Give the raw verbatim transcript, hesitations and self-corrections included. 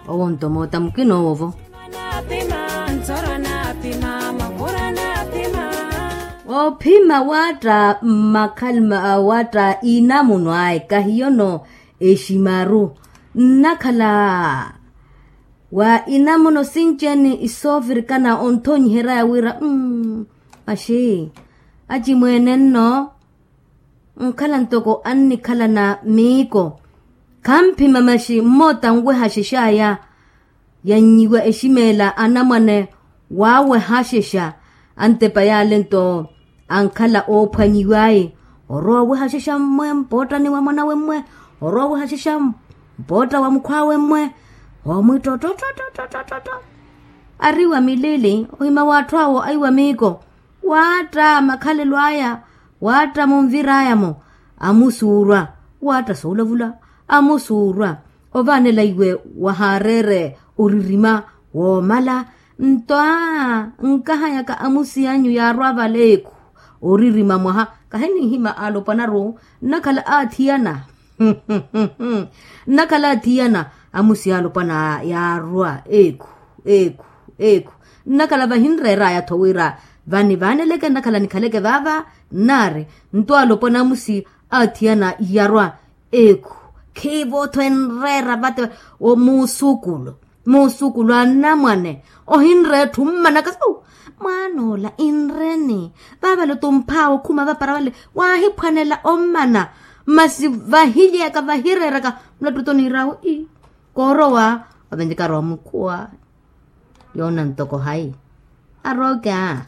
Owo nto moota mukina owovo. Ophima waatta mmakhalima waatta inamuno ayi kahiyono eximaru nnakhala wa inamuno sinci-ene isoofirikana onthonyiheryaya wira mmm maxi acimweene nno nkhala ntoko annikhalana miiko khamphima maxi mmoota nwehaxexaya yannyiwa eximeela anamwane waawehaxexa antepa yaale nto ankhala oophwanyiw'aye orowa owehaxexa mmwe mpoottani wa mwanawe mmwe orowa owehaxexa mpootta wa mukhwaawe mmwe oomwiitta ottottotto ariwa milili ohima w'atthu awo aiwa miiko waatta makhalelo aya waatta munvir'aya-mo amusuurwa waatta soolavula amusuurwa ovaanela iwe wahaareere oririma woomala nto aa nkahayaka amusi anyu yaarwa vale ekhu oririma mwaha kahininhima alopwana-ru nnakhala aathiyana nnakhala aathiyana amusi alopwana yaarwa ekhu ekhu ekhu nnakhala vahinreeraya-tho wira vanivaaneleke nnakhala nikhaleke vaava nnaari nto alopwana amusi aathiyana yarwa ekhu khiivo-tho enreera vate muusukulu muusukulu anamwane ohinreera etthu mmanaka suu mwaan'ola inreni vaavale otumphaawe okhuma vapara vale waahiphwanela ommana masi vahily'aka vahireeraka mulattuto niir'awe ii koorowa ovenjekara omukhuwa yoona ntoko hayi arooke aa